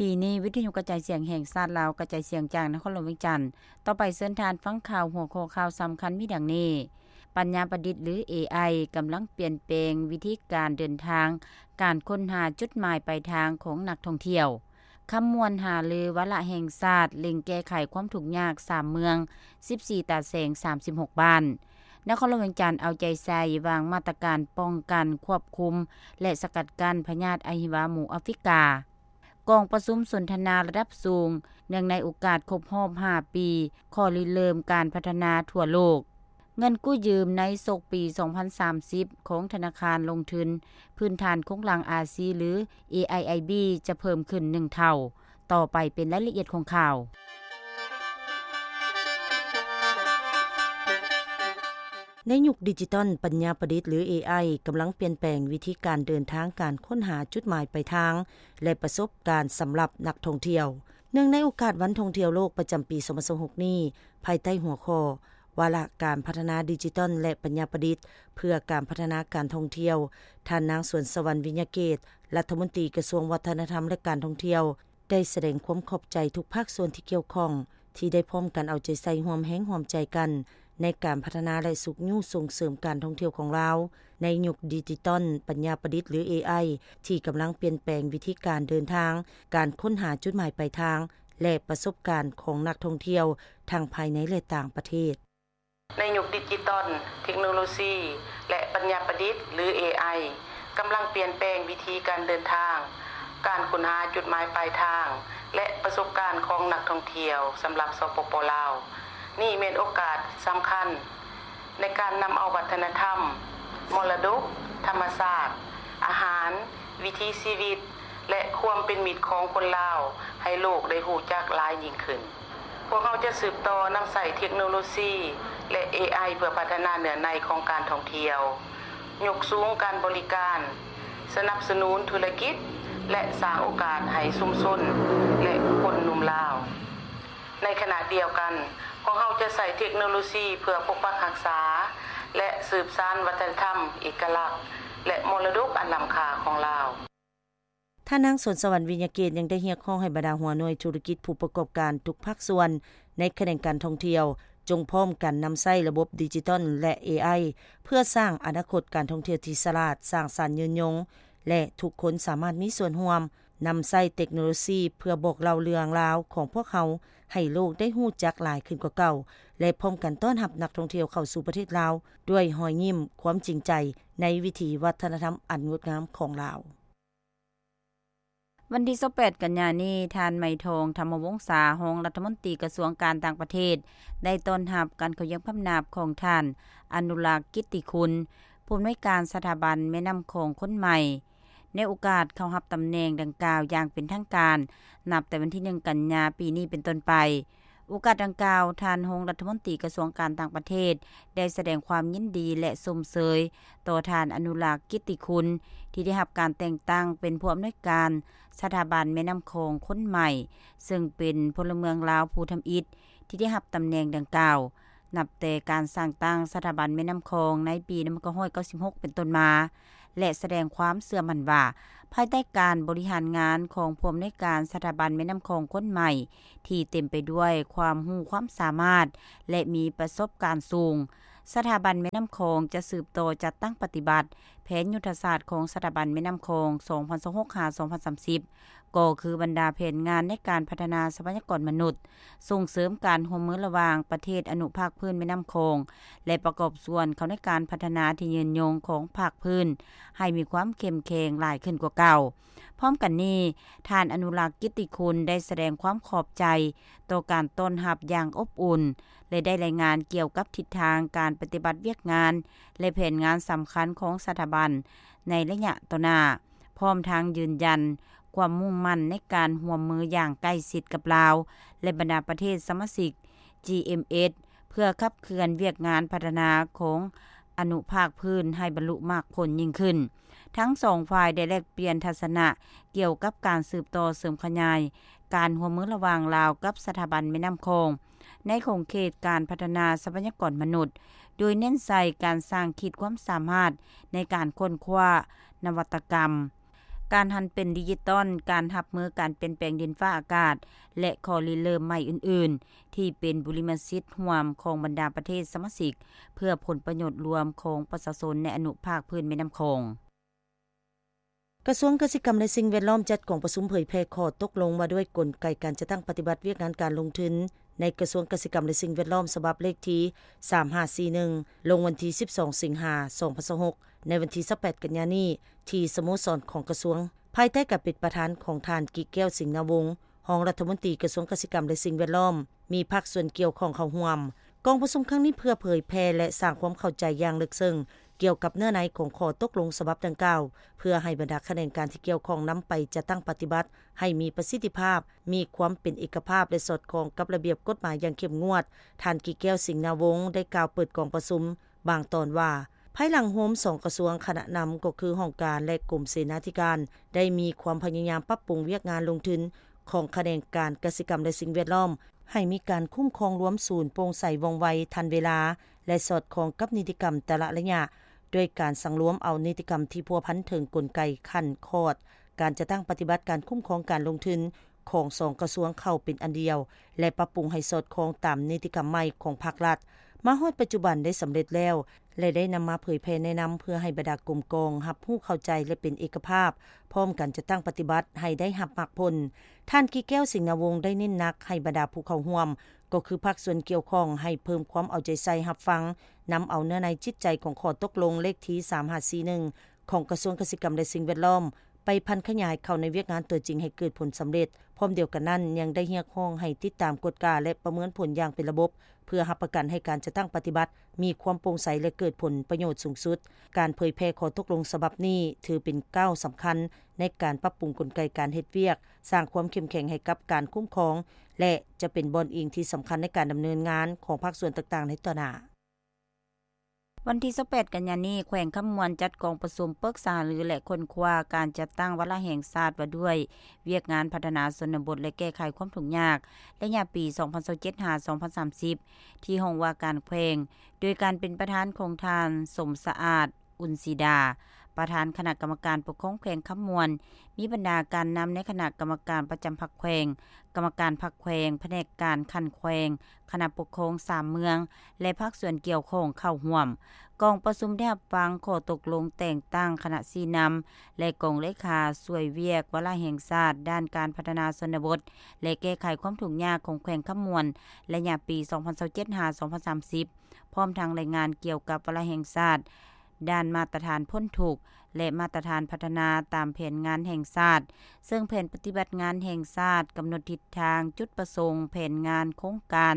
ປີນີ້ ວິທະຍຸກະຈາຍສຽງແຫ່ງຊາດລາວ ກະຈາຍສຽງຈາກນະຄອນຫຼວງວຽງຈັນ. ຕໍ່ໄປເຊີນທ່ານຟັງຂ່າວ ຫົວຂໍ້ຂ່າວສຳຄັນມີດັ່ງນີ້: ປັນຍາປະດິດ ຫຼື ເອໄອ ກຳລັງປ່ຽນແປງວິທີການເດີນທາງ, ການຄົ້ນຫາຈຸດໝາຍປາຍທາງຂອງນັກທ່ອງທ່ຽວ. ຄຳມ່ວນຫາລືວາລະແຫ່ງຊາດ ເລັ່ງແກ້ໄຂຄວາມທຸກຍາກສາມເມືອງ ສິບສີ່ຕາແສງ ສາມສິບຫົກບ້ານ. ນະຄອນຫຼວງວຽງຈັນເອົາໃຈໃສ່ວາງມາດຕະການປ້ອງກັນ, ຄວບຄຸມ ແລະ ສະກັດກັ້ນພະຍາດອະຫິວາໝູອາຟຣິກາ. ກອງປະຊຸມສົນທະນາລະດັບສູງ ເນື່ອງໃນໂອກາດຄົບຮອບຫ້າປີ ຂໍ້ລິເລີ່ມການພັດທະນາທົ່ວໂລກ. ເງິນກູ້ຢືມໃນສົກປີສອງພັນສາມສິບ ຂອງທະນາຄານລົງທຶນພື້ນຖານໂຄງລ່າງອາຊີ ຫຼື ເອໄອໄອບີ ຈະເພີ່ມຂຶ້ນໜຶ່ງເທົ່າ. ຕໍ່ໄປເປັນລາຍລະອຽດຂອງຂ່າວ. ໃນຍຸກດິຈິຕອນ, ປັນຍາປະດິດ ຫຼື ເອໄອ ກຳລັງປ່ຽນແປງວິທີການເດີນທາງ, ການຄົ້ນຫາຈຸດໝາຍປາຍທາງ ແລະ ປະສົບການສຳລັບນັກທ່ອງທ່ຽວ. ເນື່ອງໃນໂອກາດວັນທ່ອງທ່ຽວໂລກປະຈຳປີສອງພັນຊາວຫົກນີ້, ພາຍໃຕ້ຫົວຂໍ້ ວາລະການພັດທະນາດິຈິຕອນ ແລະ ປັນຍາປະດິດ ເພື່ອການພັດທະນາການທ່ອງທ່ຽວ, ທ່ານນາງ ສວນສະຫວັນ ວິຍະເກດ ລັດຖະມົນຕີກະຊວງວັດທະນະທຳ ແລະ ການທ່ອງທ່ຽວ ໄດ້ສະແດງຄວາມຂອບໃຈທຸກພາກສ່ວນທີ່ກ່ຽວຂ້ອງ ທີ່ໄດ້ພ້ອມກັນເອົາໃຈໃສ່ຮ່ວມແຮງຮ່ວມໃຈກັນ ໃນການພັດທະນາ ແລະ ຊຸກຍູ້ສົ່ງເສີມການທ່ອງທ່ຽວຂອງລາວ ໃນຍຸກດິຈິຕອນ, ປັນຍາປະດິດ ຫຼື ເອໄອ ທີ່ກຳລັງປ່ຽນແປງວິທີການເດີນທາງ, ການຄົ້ນຫາຈຸດໝາຍປາຍທາງ ແລະ ປະສົບການຂອງນັກທ່ອງທ່ຽວ ທັງພາຍໃນ ແລະ ຕ່າງປະເທດ. ໃນຍຸກດິຈິຕອນ, ເທັກໂນໂລຊີ ແລະ ປັນຍາປະດິດ ຫຼື ເອໄອ ກຳລັງປ່ຽນແປງວິທີການເດີນທາງ, ການຄົ້ນຫາຈຸດໝາຍປາຍທາງ ແລະ ປະສົບການຂອງນັກທ່ອງທ່ຽວສຳລັບ ສປປ ລາວ. ນີ້ແມ່ນໂອກາດສຳຄັນໃນການນຳເອົາວັດທະນະທຳ, ມໍລະດົກ, ທຳມະຊາດ, ອາຫານ, ວິຖີຊີວິດ ແລະ ຄວາມເປັນມິດຂອງຄົນລາວໃຫ້ໂລກໄດ້ຮູ້ຈັກຫຼາຍຍິ່ງຂຶ້ນ. ພວກເຮົາຈະສືບຕໍ່ນຳໃຊ້ເທັກໂນໂລຊີ ແລະ ເອໄອ ເພື່ອພັດທະນາເນື້ອໃນຂອງການທ່ອງທ່ຽວ, ຍົກສູງການບໍລິການ, ສະໜັບສະໜູນທຸລະກິດ ແລະ ສ້າງໂອກາດໃຫ້ຊຸມຊົນ ແລະ ຄົນໜຸ່ມລາວ. ໃນຂະນະດຽວກັນ, ພວກເຮົາຈະໃຊ້ເທັກໂນໂລຊີເພື່ອປົກປັກຮັກສາ ແລະ ສືບສານວັດທະນະທຳເອກະລັກ ແລະ ມໍລະດົກອັນລ້ຳຄ່າຂອງລາວ. ທ່ານນາງ ສວນສະຫວັນ ວິຍະເກດ ຍັງໄດ້ຮຽກຮ້ອງໃຫ້ບັນດາຫົວໜ່ວຍທຸລະກິດ, ຜູ້ປະກອບການທຸກພາກສ່ວນໃນຂະແໜງການທ່ອງທ່ຽວ ຈົ່ງພ້ອມກັນນຳໃຊ້ລະບົບດິຈິຕອນ ແລະ ເອໄອ ເພື່ອສ້າງອະນາຄົດການທ່ອງທ່ຽວທີ່ສະຫຼາດ, ສ້າງສັນ, ຍືນຍົງ ແລະ ທຸກຄົນສາມາດມີສ່ວນຮ່ວມນຳໃຊ້ເຕັກໂນໂລຊີເພື່ອບອກເລົ່າເລື່ອງລາວຂອງພວກເຮົາໃຫ້ໂລກໄດ້ຮູ້ຈັກຫຼາຍຂຶ້ນກວ່າເກົ່າ ແລະ ພ້ອມກັນຕ້ອນຮັບນັກທ່ອງທ່ຽວເຂົ້າສູ່ປະເທດລາວດ້ວຍຮອຍຍິ້ມ, ຄວາມຈິງໃຈໃນວິຖີວັດທະນະທຳອັນງົດງາມຂອງລາວ. ວັນທີຊາວແປດກັນຍານີ້, ທ່ານ ໄມທອງ ທຳມະວົງສາ, ຮອງລັດຖະມົນຕີກະຊວງການຕ່າງປະເທດ ໄດ້ຕ້ອນຮັບການເຂົ້າຢ້ຽມຂາມໜາບຂອງທ່ານ ອະນຸລັກ ກິດຕິຄຸນ, ຜູ້ອຳນວຍການສະຖາບັນແມ່ນ້ຳຂອງຄົນໃໝ່ ໃນໂອກາດເຂົ້າຮັບຕຳແໜ່ງດັ່ງກ່າວຢ່າງເປັນທາງການ ນັບແຕ່ວັນທີໜຶ່ງກັນຍາປີນີ້ເປັນຕົ້ນໄປ. ໂອກາດດັ່ງກ່າວ, ທ່ານຮອງລັດຖະມົນຕີກະຊວງການຕ່າງປະເທດ ໄດ້ສະແດງຄວາມຍິນດີ ແລະ ຊົມເຊີຍຕໍ່ທ່ານ ອະນຸລັກ ກິດຕິຄຸນ ທີ່ໄດ້ຮັບການແຕ່ງຕັ້ງເປັນຜູ້ອຳນວຍການສະຖາບັນແມ່ນ້ຳຂອງຄົນໃໝ່, ເຊິ່ງເປັນພົນລະເມືອງລາວຜູ້ທຳອິດທີ່ໄດ້ຮັບຕຳແໜ່ງດັ່ງກ່າວ ນັບແຕ່ການສ້າງຕັ້ງສະຖາບັນແມ່ນ້ຳຂອງໃນປີໜຶ່ງພັນເກົ້າຮ້ອຍເກົ້າສິບຫົກເປັນຕົ້ນມາ ແລະ ສະແດງຄວາມເຊື່ອໝັ້ນວ່າ ພາຍໃຕ້ການບໍລິຫານງານຂອງຜູ້ອຳນວຍການສະຖາບັນແມ່ນ້ຳຂອງຄົນໃໝ່ ທີ່ເຕັມໄປດ້ວຍຄວາມຮູ້ຄວາມສາມາດ ແລະ ມີປະສົບການສູງ, ສະຖາບັນແມ່ນ້ຳຂອງຈະສືບຕໍ່ຈັດຕັ້ງປະຕິບັດແຜນຍຸດທະສາດຂອງສະຖາບັນແມ່ນ້ຳຂອງ ສອງພັນຊາວຫົກ ຫາ ສອງພັນສາມສິບ ກໍຄືບັນດາແຜນງານໃນການພັດທະນາຊັບພະຍາກອນມະນຸດ, ສົ່ງເສີມການຮ່ວມມືລະຫວ່າງປະເທດອະນຸພາກພື້ນແມ່ນ້ຳຂອງ ແລະ ປະກອບສ່ວນເຂົ້າໃນການພັດທະນາທີ່ຍືນຍົງຂອງພາກພື້ນ ໃຫ້ມີຄວາມເຂັ້ມແຂງຫຼາຍຂຶ້ນກວ່າເກົ່າ. ພ້ອມກັນນີ້, ທ່ານ ອະນຸລັກ ກິດຕິຄຸນ ໄດ້ສະແດງຄວາມຂອບໃຈຕໍ່ການຕ້ອນຮັບຢ່າງອົບອຸ່ນ ແລະ ໄດ້ລາຍງານກ່ຽວກັບທິດທາງການປະຕິບັດວຽກງານ ແລະ ແຜນງານສຳຄັນຂອງສະຖາບັນໃນໄລຍະຕໍ່ໜ້າ. ພ້ອມທັງຢືນຢັນຄວາມມຸ່ງໝັ້ນໃນການຮ່ວມມືຢ່າງໃກ້ຊິດກັບລາວ ແລະ ບັນດາປະເທດສະມາຊິກ ຈີເອັມເອັສ ເພື່ອຂັບເຄື່ອນວຽກງານພັດທະນາຂອງອະນຸພາກພື້ນໃຫ້ບັນລຸໝາກຜົນຍິ່ງຂຶ້ນ. ທັງສອງຝ່າຍໄດ້ແລກປ່ຽນທັດສະນະກ່ຽວກັບການສືບຕໍ່ເສີມຂະຫຍາຍການຮ່ວມມືລະຫວ່າງລາວກັບສະຖາບັນແມ່ນ້ຳຂອງ ໃນຂົງເຂດການພັດທະນາຊັບພະຍາກອນມະນຸດ, ໂດຍເນັ້ນໃສ່ການສ້າງຂີດຄວາມສາມາດໃນການຄົ້ນຄວ້ານະວັດຕະກຳ, ການຫັນເປັນດິຈິຕອນ, ການຮັບມືການປ່ຽນແປງດິນຟ້າອາກາດ ແລະ ຂໍ້ລິເລີ່ມໃໝ່ອື່ນໆ ທີ່ເປັນບຸລິມະສິດຮ່ວມຂອງບັນດາປະເທດສະມາຊິກ ເພື່ອຜົນປະໂຫຍດລວມຂອງປະຊາຊົນໃນອະນຸພາກພື້ນແມ່ນ້ຳຂອງ. ກະຊວງກະສິກຳ ແລະ ສິ່ງແວດລ້ອມ ຈັດກອງປະຊຸມເຜີຍແຜ່ຂໍ້ຕົກລົງວ່າດ້ວຍກົນໄກການຈັດຕັ້ງປະຕິບັດວຽກງານການລົງທຶນ ໃນກະຊວງກະສິກຳ ແລະ ສິ່ງແວດລ້ອມ ສະບັບເລກທີສາມຫ້າສີ່ໜຶ່ງ ລົງວັນທີສິບສອງ ສິງຫາ ສອງພັນຊາວຫົກ ໃນວັນທີຊາວແປດ ກັນຍານີ້ ທີ່ສະໂມສອນຂອງກະຊວງ ພາຍໃຕ້ການເປັນປະທານຂອງທ່ານ ກິແກ້ວ ສິງນາວົງ ຮອງລັດຖະມົນຕີກະຊວງກະສິກຳ ແລະ ສິ່ງແວດລ້ອມ, ມີພາກສ່ວນກ່ຽວຂ້ອງເຂົ້າຮ່ວມ. ກອງປະຊຸມຄັ້ງນີ້ເພື່ອເຜີຍແຜ່ ແລະ ສ້າງຄວາມເຂົ້າໃຈຢ່າງເລິກເຊິ່ງ ກ່ຽວກັບເນື້ອໃນຂອງຂໍ້ຕົກລົງສະບັບດັ່ງກ່າວ ເພື່ອໃຫ້ບັນດາຂະແໜງການທີ່ກ່ຽວຂ້ອງນຳໄປຈັດຕັ້ງປະຕິບັດໃຫ້ມີປະສິດທິພາບ, ມີຄວາມເປັນເອກະພາບ ແລະ ສອດຄ່ອງກັບລະບຽບກົດໝາຍຢ່າງເຂັ້ມງວດ. ທ່ານ ກິແກ້ວ ສິງນາວົງ ໄດ້ກ່າວເປີດກອງປະຊຸມບາງຕອນວ່າ, ພາຍຫຼັງໂຮມສອງກະຊວງ, ຄະນະນຳກໍຄືຫ້ອງການ ແລະ ກົມເສນາທິການ ໄດ້ມີຄວາມພະຍາຍາມປັບປຸງວຽກງານລົງທຶນຂອງຂະແໜງການກະສິກຳ ແລະ ສິ່ງແວດລ້ອມ ໃຫ້ມີການຄຸ້ມຄອງລວມສູນ, ໂປ່ງໃສ, ວ່ອງໄວ, ທັນເວລາ ແລະ ສອດຄ່ອງກັບນິຕິກຳແຕ່ລະໄລຍະ, ດ້ວຍການສັງລວມເອົານິຕິກຳທີ່ພົວພັນເຖິງກົນໄກຂັ້ນຂອດການຈັດຕັ້ງປະຕິບັດການຄຸ້ມຄອງການລົງທຶນຂອງສອງກະຊວງເຂົ້າເປັນອັນດຽວ ແລະ ປັບປຸງໃຫ້ສອດຄ່ອງຕາມນິຕິກຳໃໝ່ຂອງພາກລັດ. ມາຮອດປັດຈຸບັນໄດ້ສຳເລັດແລ້ວ ແລະ ໄດ້ນຳມາເຜີຍແຜ່ແນະນຳ ເພື່ອໃຫ້ບັນດາກົມກອງຮັບຮູ້ເຂົ້າໃຈ ແລະ ເປັນເອກະພາບ, ພ້ອມກັນຈັດຕັ້ງປະຕິບັດໃຫ້ໄດ້ຮັບໝາກຜົນ. ທ່ານ ກິແກ້ວ ສິງນາວົງ ໄດ້ເນັ້ນໜັກໃຫ້ບັນດາຜູ້ເຂົ້າຮ່ວມ ກໍຄືພາກສ່ວນກ່ຽວຂ້ອງ ໃຫ້ເພີ່ມຄວາມເອົາໃຈໃສ່ຮັບຟັງ, ນຳເອົາເນື້ອໃນຈິດໃຈຂອງຂໍ້ຕົກລົງເລກທີສາມຫ້າສີ່ໜຶ່ງ ຂອງກະຊວງກະສິກຳ ແລະ ສິ່ງແວດລ້ອມ ໄປຜັນຂະຫຍາຍເຂົ້າໃນວຽກງານຕົວຈິງໃຫ້ເກີດຜົນສຳເລັດ. ພ້ອມດຽວກັນນັ້ນ ຍັງໄດ້ຮຽກຮ້ອງໃຫ້ຕິດຕາມ, ກວດກາ ແລະ ປະເມີນຜົນຢ່າງເປັນລະບົບ ເພື່ອຮັບປະກັນໃຫ້ການຈັດຕັ້ງປະຕິບັດມີຄວາມໂປ່ງໃສ ແລະ ເກີດຜົນປະໂຫຍດສູງສຸດ. ການເຜີຍແຜ່ຂໍ້ຕົກລົງສະບັບນີ້ ຖືເປັນກ້າວສຳຄັນໃນການປັບປຸງກົນໄກການເຮັດວຽກ, ສ້າງຄວາມເຂັ້ມແຂງໃຫ້ກັບການຄຸ້ມຄອງ ແລະ ຈະເປັນບ່ອນອີງທີ່ສຳຄັນໃນການດຳເນີນງານຂອງພາກສ່ວນຕ່າງໆໃນຕໍ່ໜ້າ. ວັນທີຊາວແປດ ກັນຍານີ້, ແຂວງຄຳມ່ວນຈັດກອງປະຊຸມປຶກສາຫາລື ແລະ ຄົ້ນຄວ້າການຈັດຕັ້ງວາລະແຫ່ງຊາດວ່າດ້ວຍວຽກງານພັດທະນາຊົນນະບົດ ແລະ ແກ້ໄຂຄວາມທຸກຍາກ ໄລຍະປີສອງພັນຊາວເຈັດ ຫາ ສອງພັນສາມສິບ ທີ່ຫ້ອງວ່າການແຂວງ ໂດຍການເປັນປະທານຂອງທ່ານ ສົມສະອາດ ອຸ່ນສີດາ ປະທານຄະນະກຳມະການປົກຄອງແຂວງຄຳມ່ວນ, ມີບັນດາການນຳໃນຄະນະກຳມະການປະຈຳພັກແຂວງ, ກຳມະການພັກແຂວງ, ພະແນກການຂັ້ນແຂວງ, ຄະນະປົກຄອງສາມເມືອງ ແລະ ພາກສ່ວນກ່ຽວຂ້ອງເຂົ້າຮ່ວມ. ກອງປະຊຸມໄດ້ຮັບຟັງຂໍ້ຕົກລົງແຕ່ງຕັ້ງຄະນະຊີ້ນຳ ແລະ ກອງເລຂາຊ່ວຍວຽກວາລະແຫ່ງຊາດດ້ານການພັດທະນາຊົນນະບົດ ແລະ ແກ້ໄຂຄວາມທຸກຍາກຂອງແຂວງຄຳມ່ວນ ໄລຍະປີສອງພັນຊາວເຈັດ ຫາ ສອງພັນສາມສິບ ພ້ອມທັງລາຍງານກ່ຽວກັບວາລະແຫ່ງຊາດ ດ້ານມາດຕະຖານພົ້ນທຸກ ແລະ ມາດຕະຖານພັດທະນາຕາມແຜນງານແຫ່ງຊາດ, ເຊິ່ງແຜນປະຕິບັດງານແຫ່ງຊາດກຳນົດທິດທາງ, ຈຸດປະສົງ, ແຜນງານ, ໂຄງການ,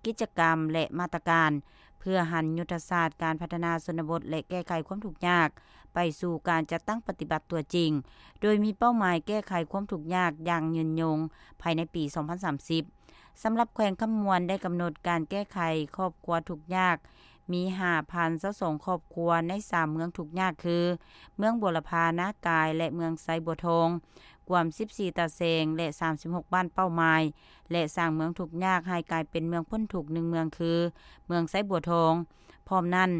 ກິດຈະກຳ ແລະ ມາດຕະການ ເພື່ອຫັນຍຸດທະສາດການພັດທະນາຊົນນະບົດ ແລະ ແກ້ໄຂຄວາມທຸກຍາກ ໄປສູ່ການຈັດຕັ້ງປະຕິບັດຕົວຈິງ, ໂດຍມີເປົ້າໝາຍແກ້ໄຂຄວາມທຸກຍາກຢ່າງຍືນຍົງພາຍໃນປີສອງພັນສາມສິບ. ສຳລັບແຂວງຄຳມ່ວນໄດ້ກຳນົດການແກ້ໄຂຄອບຄົວທຸກຍາກ ມີຫ້າພັນຊາວສອງຄອບຄົວໃນສາມເມືອງທຸກຍາກຄື ເມືອງບົວລະພາ, ນາກາຍ ແລະ ເມືອງໄຊບົວທອງ, ກວມສິບສີ່ຕາແສງ ແລະ ສາມສິບຫົກບ້ານເປົ້າໝາຍ ແລະ ສ້າງເມືອງທຸກຍາກໃຫ້ກາຍເປັນເມືອງພົ້ນທຸກໜຶ່ງເມືອງຄື ເມືອງໄຊບົວທອງ. ພ້ອມນັ້ນ,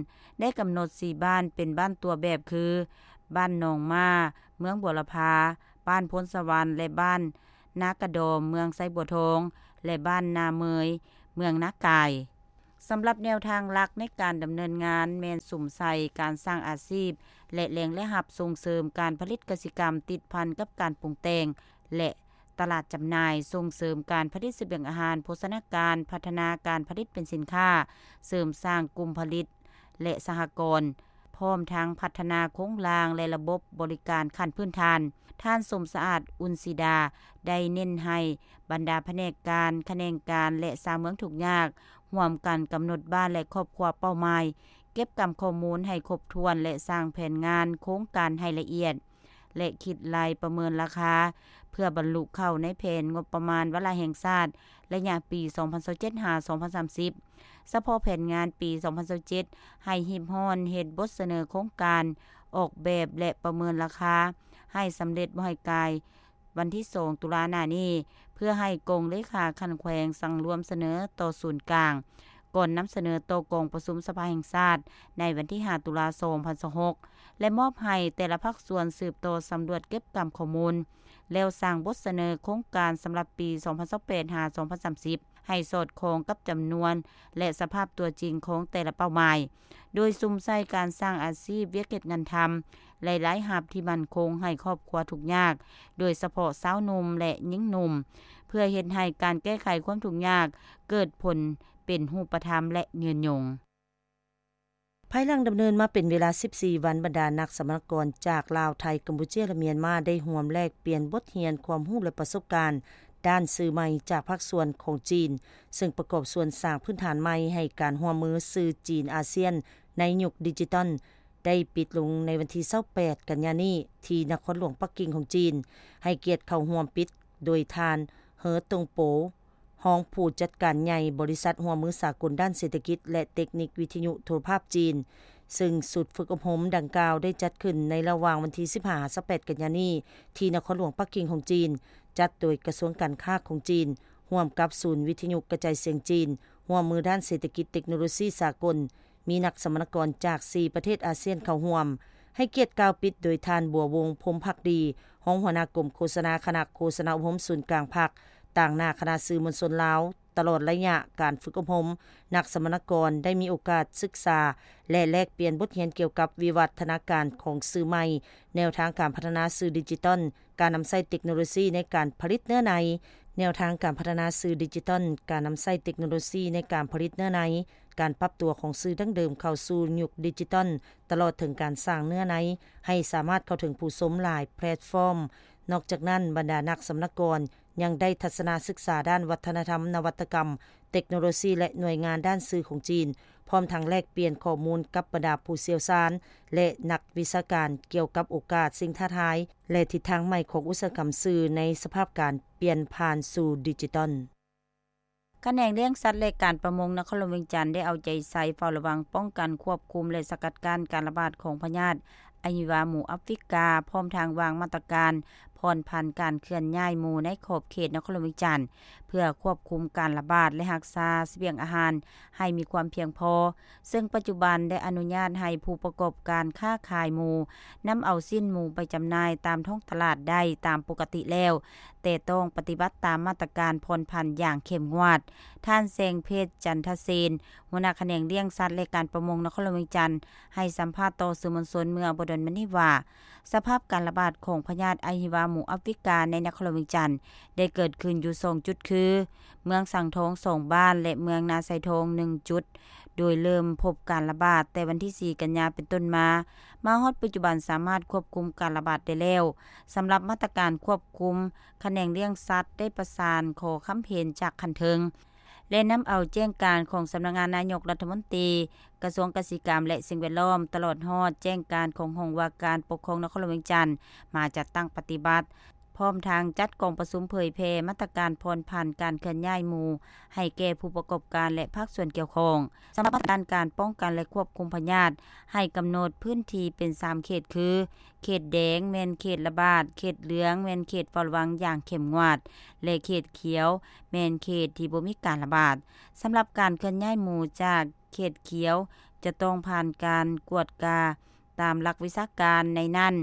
ໄດ້ກຳນົດສີ່ບ້ານເປັນບ້ານຕົວແບບຄື ບ້ານໜອງມ້າ ເມືອງບົວລະພາ, ບ້ານໂພນສະຫວັນ ແລະ ບ້ານນາກະດອມ ເມືອງໄຊບົວທອງ ແລະ ບ້ານນາເມີຍ ເມືອງນາກາຍ. ສຳລັບແນວທາງຫຼັກໃນການດຳເນີນງານແມ່ນສຸມໃສ່ການສ້າງອາຊີບ ແລະ ແຫຼ່ງລາຍຮັບ, ສົ່ງເສີມການຜະລິດກະສິກຳຕິດພັນກັບການປຸງແຕ່ງ ແລະ ຕະຫຼາດຈຳໜ່າຍ, ສົ່ງເສີມການຜະລິດສະບຽງອາຫານໂພຊະນາການ, ພັດທະນາການຜະລິດເປັນສິນຄ້າ, ເສີມສ້າງກຸ່ມຜະລິດ ແລະ ສະຫະກອນ, ພ້ອມທັງພັດທະນາໂຄງລ່າງ ແລະ ລະບົບບໍລິການຂັ້ນພື້ນຖານ. ທ່ານ ສົມສະອາດ ອຸ່ນສີດາ ໄດ້ເນັ້ນໃຫ້ບັນດາພະແນກການ, ຂະແໜງການ ແລະ ຊາວເມືອງທຸກຍາກ ຮ່ວມກັນກຳນົດບ້ານ ແລະ ຄອບຄົວເປົ້າໝາຍ, ເກັບກຳຂໍ້ມູນໃຫ້ຄົບຖ້ວນ ແລະ ສ້າງແຜນງານໂຄງການໃຫ້ລະອຽດ ແລະ ຄິດໄລ່ປະເມີນລາຄາ ເພື່ອບັນລຸເຂົ້າໃນແຜນງົບປະມານວາລະແຫ່ງຊາດ ໄລຍະປີສອງພັນຊາວເຈັດ ຫາ ສອງພັນສາມສິບ. ສະເພາະແຜນງານປີສອງພັນຊາວເຈັດ ໃຫ້ຮີບຮ້ອນເຮັດບົດສະເໜີໂຄງການອອກແບບ ແລະ ປະເມີນລາຄາໃຫ້ສຳເລັດບໍ່ໃຫ້ກາຍວັນທີສອງ ຕຸລາໜ້ານີ້ ເພື່ອໃຫ້ກອງເລຂາຂັ້ນແຂວງສັງລວມສະເໜີຕໍ່ສູນກາງ ກ່ອນນຳສະເໜີຕໍ່ກອງປະຊຸມສະພາແຫ່ງຊາດໃນວັນທີຫ້າ ຕຸລາ ສອງພັນຊາວຫົກ ແລະ ມອບໃຫ້ແຕ່ລະພາກສ່ວນສືບຕໍ່ສຳຫຼວດເກັບກຳຂໍ້ມູນ ແລ້ວສ້າງບົດສະເໜີໂຄງການສຳລັບປີ ສອງພັນຊາວແປດ ຫາ ສອງພັນສາມສິບ ໃຫ້ສອດຄ່ອງກັບຈຳນວນ ແລະ ສະພາບຕົວຈິງຂອງແຕ່ລະເປົ້າໝາຍ, ໂດຍສຸມໃສ່ການສ້າງອາຊີບ, ວຽກເຮັດງານທຳ ແລະ ລາຍຮັບທີ່ໝັ້ນຄົງໃຫ້ຄອບຄົວທຸກຍາກ, ໂດຍສະເພາະຊາວໜຸ່ມ ແລະ ຍິງໜຸ່ມ, ເພື່ອເຮັດໃຫ້ການແກ້ໄຂຄວາມທຸກຍາກເກີດຜົນເປັນຮູບປະທຳ ແລະ ຍືນຍົງ. ພາຍຫຼັງດຳເນີນມາເປັນເວລາສິບສີ່ວັນ, ບັນດານັກສຳມະນາກອນຈາກລາວ, ໄທ, ກຳປູເຈຍ ແລະ ມຽນມາ ໄດ້ຮ່ວມແລກປ່ຽນບົດຮຽນ, ຄວາມຮູ້ ແລະ ປະສົບການດ້ານສື່ໃໝ່ຈາກພາກສ່ວນຂອງຈີນ, ເຊິ່ງປະກອບສ່ວນສ້າງພື້ນຖານໃໝ່ໃຫ້ການຮ່ວມມືສື່ຈີນອາຊຽນໃນຍຸກດິຈິຕອນ ໄດ້ປິດລົງໃນວັນທີຊາວແປດ ກັນຍານີ້ ທີ່ນະຄອນຫຼວງປັກກິ່ງຂອງຈີນ. ໃຫ້ກຽດເຂົ້າຮ່ວມປິດໂດຍທ່ານ ເຮີ ຕົງໂປ ຮອງຜູ້ຈັດການໃຫຍ່ບໍລິສັດຮ່ວມມືສາກົນດ້ານເສດຖະກິດ ແລະ ເຕັກນິກວິທະຍຸໂທລະພາບຈີນ, ເຊິ່ງຊຸດຝຶກອົບຮົມດັ່ງກ່າວໄດ້ຈັດຂຶ້ນໃນລະຫວ່າງວັນທີສິບຫ້າ ຫາ ຊາວແປດ ກັນຍານີ້ ທີ່ນະຄອນຫຼວງປັກກິ່ງຂອງຈີນ, ຈັດໂດຍກະຊວງການຄ້າຂອງຈີນ ຮ່ວມກັບສູນວິທະຍຸກະຈາຍສຽງຈີນ, ຮ່ວມມືດ້ານເສດຖະກິດເຕັກໂນໂລຊີສາກົນ, ມີນັກສຳມະນາກອນຈາກສີ່ປະເທດອາຊຽນເຂົ້າຮ່ວມ. ໃຫ້ກຽດກ່າວປິດໂດຍທ່ານ ບົວວົງ ພົມພັກດີ ຮອງຫົວໜ້າກົມໂຄສະນາ ຄະນະໂຄສະນາອົບຮົມສູນກາງພັກ, ຕາງໜ້າຄະນະສື່ມວນຊົນລາວ. ຕະຫຼອດໄລຍະການຝຶກອົບຮົມ, ນັກສຳມະນາກອນໄດ້ມີໂອກາດສຶກສາ ແລະ ແລກປ່ຽນບົດຮຽນກ່ຽວກັບວິວັດທະນາການຂອງສື່ໃໝ່, ແນວທາງການພັດທະນາສື່ດິຈິຕອນ, ການນຳໃຊ້ເຕັກໂນໂລຊີໃນການຜະລິດເນື້ອໃນ, ແນວທາງການພັດທະນາສື່ດິຈິຕອນ, ການນຳໃຊ້ເຕັກໂນໂລຊີໃນການຜະລິດເນື້ອໃນ, ການປັບຕົວຂອງສື່ດັ້ງເດີມເຂົ້າສູ່ຍຸກດິຈິຕອນ, ຕະຫຼອດເຖິງການສ້າງເນື້ອໃນໃຫ້ສາມາດເຂົ້າເຖິງຜູ້ຊົມຫຼາຍແພລດຟອມ. ນອກຈາກນັ້ນ, ບັນດານັກສຳມະນາກອນຍັງໄດ້ທັດສະນະສຶກສາດ້ານວັດທະນະທຳ, ນະວັດຕະກຳ, ເຕັກໂນໂລຊີ ແລະ ໜ່ວຍງານດ້ານສື່ຂອງຈີນ, ພ້ອມທັງແລກປ່ຽນຂໍ້ມູນກັບບັນດາຜູ້ຊ່ຽວຊານ ແລະ ນັກວິຊາການກ່ຽວກັບໂອກາດ, ສິ່ງທ້າທາຍ ແລະ ທິດທາງໃໝ່ຂອງອຸດສາຫະກຳສື່ໃນສະພາບການປ່ຽນຜ່ານສູ່ດິຈິຕອນ. ຂະແໜງລ້ຽງສັດ ແລະ ການປະມົງນະຄອນຫຼວງວຽງຈັນ ໄດ້ເອົາໃຈໃສ່ເຝົ້າລະວັງ, ປ້ອງກັນ, ຄວບຄຸມ ແລະ ສະກັດກັ້ນການລະບາດຂອງພະຍາດອະຫິວາໝູອາຟຣິກາ, ພ້ອມທັງວາງມາດຕະການຜ່ອນຜັນການເຄື່ອນຍ້າຍໝູໃນຂອບເຂດນະຄອນຫຼວງວຽງຈັນ ເພື່ອຄວບຄຸມການລະບາດ ແລະ ຮັກສາສະບຽງອາຫານໃຫ້ມີຄວາມພຽງພໍ, ເຊິ່ງປັດຈຸບັນໄດ້ອະນຸຍາດໃຫ້ຜູ້ປະກອບການຄ້າຂາຍໝູ ນຳເອົາຊີ້ນໝູໄປຈຳໜ່າຍຕາມທ້ອງຕະຫຼາດໄດ້ຕາມປົກກະຕິແລ້ວ, ແຕ່ຕ້ອງປະຕິບັດຕາມມາດຕະການຜ່ອນຜັນຢ່າງເຂັ້ມງວດ. ທ່ານ ແສງເພັດ ຈັນທະເສນ, ຫົວໜ້າຂະແໜງລ້ຽງສັດ ແລະ ການປະມົງນະຄອນຫຼວງວຽງຈັນ, ໃຫ້ສຳພາດຕໍ່ສື່ມວນຊົນເມື່ອບໍ່ດົນມານີ້ວ່າ, ສະພາບການລະບາດຂອງພະຍາດອະຫິວາໝູອາຟຣິກາໃນນະຄອນຫຼວງວຽງຈັນ ໄດ້ເກີດຂຶ້ນຢູ່ສອງຈຸດ ຄື ເມືອງສັງທອງສອງບ້ານ ແລະ ເມືອງນາຊາຍທອງໜຶ່ງຈຸດ, ໂດຍເລີ່ມພົບການລະບາດແຕ່ວັນທີສີ່ ກັນຍາເປັນຕົ້ນມາ, ມາຮອດປັດຈຸບັນສາມາດຄວບຄຸມການລະບາດໄດ້ແລ້ວ. ສຳລັບມາດຕະການຄວບຄຸມ, ຂະແໜງລ້ຽງສັດໄດ້ປະສານຂໍຄຳເຫັນຈາກຂັ້ນເທິງ ແລະ ນຳເອົາແຈ້ງການຂອງສຳນັກງານນາຍົກລັດຖະມົນຕີ, ກະຊວງກະສິກຳ ແລະ ສິ່ງແວດລ້ອມ, ຕະຫຼອດຮອດແຈ້ງການຂອງຫ້ອງວ່າການປົກຄອງນະຄອນຫຼວງວຽງຈັນ ມາຈັດຕັ້ງປະຕິບັດ, ພ້ອມທັງຈັດກອງປະຊຸມເຜີຍແຜ່ມາດຕະການຜ່ອນຜັນການເຄື່ອນຍ້າຍໝູໃຫ້ແກ່ຜູ້ປະກອບການ ແລະ ພາກສ່ວນກ່ຽວຂ້ອງ. ສຳລັບມາດຕະການການປ້ອງກັນ ແລະ ຄວບຄຸມພະຍາດ, ໃຫ້ກຳນົດພື້ນທີ່ເປັນສາມເຂດ ຄື ເຂດແດງແມ່ນເຂດລະບາດ, ເຂດເຫຼືອງແມ່ນເຂດເຝົ້າລະວັງຢ່າງເຂັ້ມງວດ ແລະ ເຂດຂຽວແມ່ນເຂດທີ່ບໍ່ມີການລະບາດ. ສຳລັບການເຄື່ອນຍ້າຍໝູຈາກເຂດຂຽວ ຈະຕ້ອງຜ່ານການກວດກາຕາມຫຼັກວິຊາການ, ໃນນັ້ນ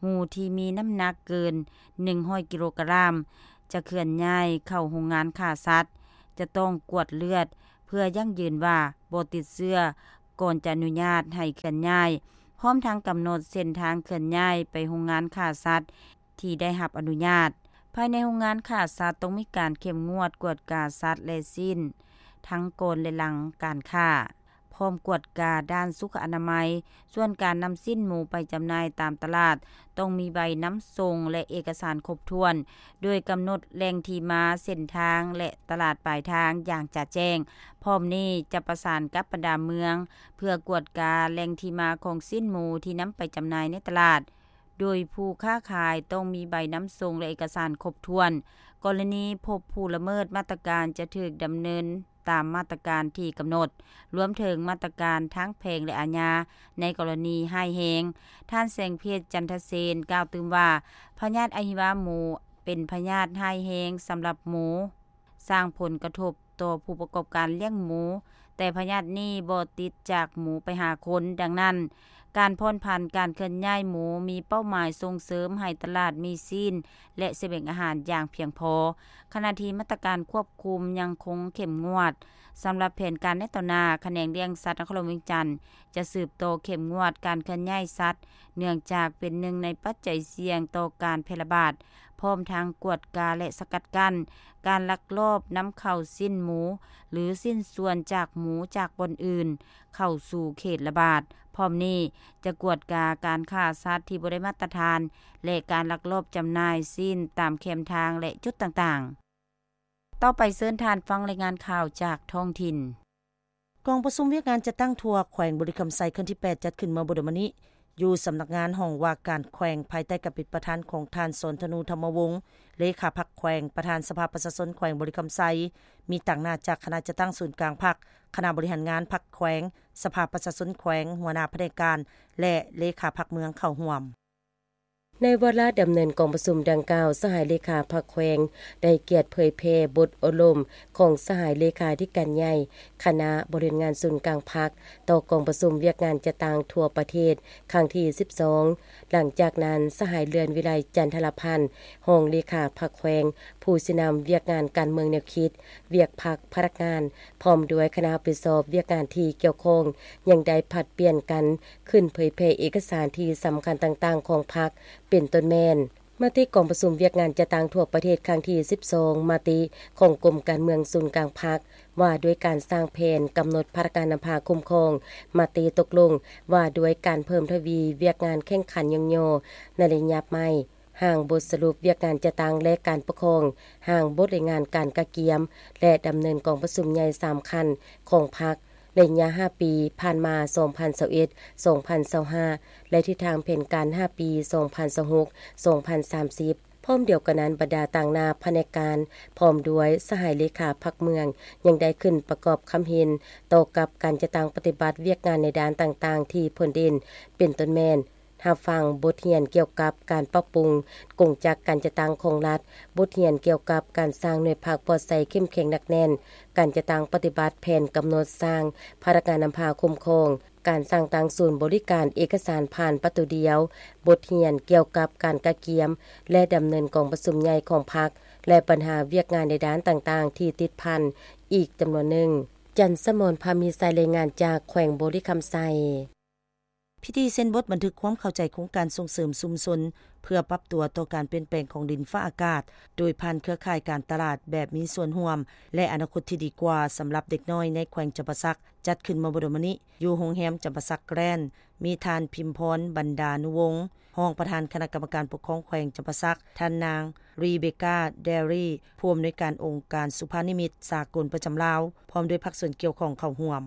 ໝູທີ່ມີນ້ຳໜັກເກີນໜຶ່ງຮ້ອຍກິໂລກຣາມ ຈະເຄື່ອນຍ້າຍເຂົ້າໂຮງງານຂ້າສັດ, ຈະຕ້ອງກວດເລືອດ ເພື່ອຢັ້ງຢືນວ່າບໍ່ຕິດເຊື້ອ ກ່ອນຈະອະນຸຍາດໃຫ້ເຄື່ອນຍ້າຍ, ພ້ອມທັງກຳນົດເສັ້ນທາງເຄື່ອນຍ້າຍໄປໂຮງງານຂ້າສັດທີ່ໄດ້ຮັບອະນຸຍາດ. ພາຍໃນໂຮງງານຂ້າສັດຕ້ອງມີການເຂັ້ມງວດກວດກາສັດ ແລະ ຊີ້ນ ທັງກ່ອນ ແລະ ຫຼັງການຂ້າ, ພ້ອມກວດກາດ້ານສຸຂະອະນາໄມ. ສ່ວນການນຳຊີ້ນໝູໄປຈຳໜ່າຍຕາມຕະຫຼາດ ຕ້ອງມີໃບນຳສົ່ງ ແລະ ເອກະສານຄົບຖ້ວນ, ໂດຍກຳນົດແຫຼ່ງທີ່ມາ, ເສັ້ນທາງ ແລະ ຕະຫຼາດປາຍທາງຢ່າງຈະແຈ້ງ. ພ້ອມນີ້ຈະປະສານກັບບັນດາເມືອງ ເພື່ອກວດກາແຫຼ່ງທີ່ມາຂອງຊີ້ນໝູທີ່ນຳໄປຈຳໜ່າຍໃນຕະຫຼາດ, ໂດຍຜູ້ຄ້າຂາຍຕ້ອງມີໃບນຳສົ່ງ ແລະ ເອກະສານຄົບຖ້ວນ. ກໍລະນີພົບຜູ້ລະເມີດມາດຕະການ ຈະຖືກດຳເນີນຕາມມາດຕະການທີ່ກຳນົດ, ລວມເຖິງມາດຕະການທາງແພ່ງ ແລະ ອາຍາ ໃນກໍລະນີຮ້າຍແຮງ. ທ່ານ ແສງເພັດ ຈັນທະເສນ ກ່າວຕື່ມວ່າ, ພະຍາດອະຫິວາໝູເປັນພະຍາດຮ້າຍແຮງສຳລັບໝູ, ສ້າງຜົນກະທົບຕໍ່ຜູ້ປະກອບການລ້ຽງໝູ ແຕ່ພະຍາດນີ້ບໍ່ຕິດຈາກໝູໄປຫາຄົນ. ດັ່ງນັ້ນ, ການຜ່ອນຜັນການເຄື່ອນຍ້າຍໝູມີເປົ້າໝາຍສົ່ງເສີມໃຫ້ຕະຫຼາດມີຊີ້ນ ແລະ ສະບຽງອາຫານຢ່າງພຽງພໍ, ຂະນະທີ່ມາດຕະການຄວບຄຸມຍັງຄົງເຂັ້ມງວດ. ສຳລັບແຜນການໃນຕໍ່ໜ້າ, ຂະແໜງລ້ຽງສັດນະຄອນຫຼວງວຽງຈັນ ຈະສືບຕໍ່ເຂັ້ມງວດການເຄື່ອນຍ້າຍສັດ, ເນື່ອງຈາກເປັນໜຶ່ງໃນປັດໄຈສ່ຽງຕໍ່ການແຜ່ລະບາດ, ພ້ອມທັງກວດກາ ແລະ ສະກັດກັ້ນການລັກລອບນຳເຂົ້າຊີ້ນໝູ ຫຼື ຊິ້ນສ່ວນຈາກໝູຈາກບ່ອນອື່ນເຂົ້າສູ່ເຂດລະບາດ. ພ້ອມນີ້, ຈະກວດກາການຂ້າສັດທີ່ບໍ່ໄດ້ມາດຕະຖານ ແລະ ການລັກລອບຈຳໜ່າຍຊີ້ນຕາມແຄມທາງ ແລະ ຈຸດຕ່າງໆ. ຕໍ່ໄປເຊີນທ່ານຟັງລາຍງານຂ່າວຈາກທ້ອງຖິ່ນ. ກອງປະຊຸມວຽກງານຈັດຕັ້ງທົ່ວແຂວງບໍລິຄຳໄຊ ຄັ້ງທີແປດ ຈັດຂຶ້ນເມື່ອບໍ່ດົນມານີ້ ຢູ່ສຳນັກງານຫ້ອງວ່າການແຂວງ ພາຍໃຕ້ການເປັນປະທານຂອງທ່ານ ສອນທະນູ ທຳມະວົງ ເລຂາພັກແຂວງ, ປະທານສະພາປະຊາຊົນແຂວງບໍລິຄຳໄຊ, ມີຕາງໜ້າຈາກຄະນະຈັດຕັ້ງສູນກາງພັກ, ຄະນະບໍລິຫານງານພັກແຂວງ, ສະພາປະຊາຊົນແຂວງ, ຫົວໜ້າພະແນກການ ແລະ ເລຂາພັກເມືອງເຂົ້າຮ່ວມ. ໃນວາລະດຳເນີນກອງປະຊຸມດັ່ງກ່າວ, ສະຫາຍເລຂາພັກແຂວງໄດ້ກຽດເຜີຍແຜ່ບົດອົບຮົມຂອງສະຫາຍເລຂາທິການໃຫຍ່ຄະນະບໍລິຫານງານສູນກາງພັກ ຕໍ່ກອງປະຊຸມວຽກງານຈັດຕັ້ງທົ່ວປະເທດຄັ້ງທີສິບສອງ. ຫຼັງຈາກນັ້ນ, ສະຫາຍເລື່ອນວິໄລ ຈັນທະລະພັນ ຮອງເລຂາພັກແຂວງ, ຜູ້ຊີ້ນຳວຽກງານການເມືອງແນວຄິດ, ວຽກພັກ, ພະນັກງານ ພ້ອມດ້ວຍຄະນະຮັບຜິດຊອບວຽກງານທີ່ກ່ຽວຂ້ອງ ຍັງໄດ້ຜັດປ່ຽນກັນ ຂຶ້ນເຜີຍແຜ່ເອກະສານທີ່ສຳຄັນຕ່າງໆຂອງພັກ ເປັນຕົ້ນແມ່ນ ມະຕິກອງປະຊຸມວຽກງານຈັດຕັ້ງທົ່ວປະເທດຄັ້ງທີສິບສອງ, ມະຕິຂອງກົມການເມືອງສູນກາງພັກ ວ່າດ້ວຍການສ້າງແຜນກຳນົດພະນັກງານນຳພາຄຸ້ມຄອງ, ມະຕິຕົກລົງວ່າດ້ວຍການເພີ່ມທະວີວຽກງານແຂ່ງຂັນຍ້ອງຍໍໃນໄລຍະໃໝ່, ຮ່າງບົດສະຫຼຸບວຽກງານຈັດຕັ້ງ ແລະ ການປົກຄອງ, ຮ່າງບົດລາຍງານການກະກຽມ ແລະ ດຳເນີນກອງປະຊຸມໃຫຍ່ສາມຂັ້ນຂອງພັກ ໄລຍະຫ້າປີຜ່ານມາ ສອງພັນຊາວເອັດ ສອງພັນຊາວຫ້າ ແລະ ທິດທາງແຜນການຫ້າປີ ສອງພັນຊາວຫົກ ສອງພັນສາມສິບ. ພ້ອມດຽວກັນນັ້ນ, ບັນດາຕາງໜ້າພະແນກການ ພ້ອມດ້ວຍສະຫາຍເລຂາພັກເມືອງ ຍັງໄດ້ຂຶ້ນປະກອບຄຳເຫັນຕໍ່ກັບການຈັດຕັ້ງປະຕິບັດວຽກງານໃນດ້ານຕ່າງໆທີ່ເພິ່ນເດັ່ນ, ເປັນຕົ້ນແມ່ນ ຮັບຟັງບົດຮຽນກ່ຽວກັບການປັບປຸງກົງຈັກການຈັດຕັ້ງຂອງລັດ, ບົດຮຽນກ່ຽວກັບການສ້າງໜ່ວຍພັກປອດໃສເຂັ້ມແຂງໜັກແໜ້ນ, ການຈັດຕັ້ງປະຕິບັດແຜນກຳນົດສ້າງພະນັກງານນຳພາຄຸ້ມຄອງ, ການສ້າງຕັ້ງສູນບໍລິການເອກະສານຜ່ານປະຕູດຽວ, ບົດຮຽນກ່ຽວກັບການກະກຽມ ແລະ ດຳເນີນກອງປະຊຸມໃຫຍ່ຂອງພັກ ແລະ ບັນຫາວຽກງານໃນດ້ານຕ່າງໆທີ່ຕິດພັນອີກຈຳນວນໜຶ່ງ. ຈັນສະໝອນ ພາມີໄຊ ລາຍງານຈາກແຂວງບໍລິຄຳໄຊ. ພິທີເຊັນບົດບັນທຶກຄວາມເຂົ້າໃຈໂຄງການສົ່ງເສີມຊຸມຊົນ ເພື່ອປັບຕົວຕໍ່ການປ່ຽນແປງຂອງດິນຟ້າອາກາດ ໂດຍຜ່ານເຄືອຂ່າຍການຕະຫຼາດແບບມີສ່ວນຮ່ວມ ແລະ ອະນາຄົດທີ່ດີກວ່າສຳລັບເດັກນ້ອຍໃນແຂວງຈຳປາສັກ ຈັດຂຶ້ນເມື່ອບໍ່ດົນມານີ້ ຢູ່ໂຮງແຮມຈຳປາສັກແກຣນ ມີທ່ານ ພິມພອນ ບັນດານຸວົງ ຮອງປະທານຄະນະກຳມະການປົກຄອງແຂວງຈຳປາສັກ, ທ່ານນາງ ຣີເບກາ ແດຣີ ຜູ້ອຳນວຍການອົງການສຸພານິມິດສາກົນປະຈຳລາວ ພ້ອມດ້ວຍພາກສ່ວນກ່ຽວຂ້ອງເຂົ້າຮ່ວມ.